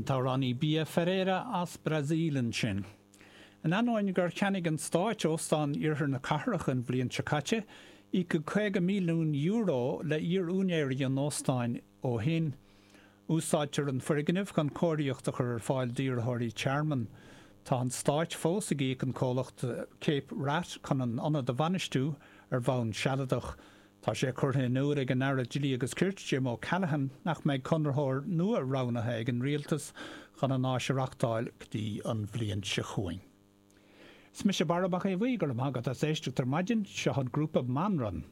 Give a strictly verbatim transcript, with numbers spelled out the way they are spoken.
An t-amhránaí Bia Ferreira as Brasaíl ansin. In ainneoin gur cheannaigh an Stát óstán iarthar na cathrach an bhliain seo caite, íocadh caoga milliún euro le iar-úinéirí an óstáin ó shin. Úsáidtear an foirgneamh chun cóiríocht a chur ar fáil d'iarrthóirí tearmainn. Tá an Stát fós ag íoc an comhlacht Cape Wrath chun an ionad a bhainistiú ar bhonn sealadach. Tá sé curtha in iúl ag an Aire Dlí agus Cirt Jim O'Callaghan nach mbeidh conraitheoir nua roghnaithe ag an rialtas chun an áis a reáchtáil go dtí an bhliain seo chugainn. Is mise Barra Mac Aodha Bhuí go raibh maith agat as éisteacht ar maidin seo an grúpa Manran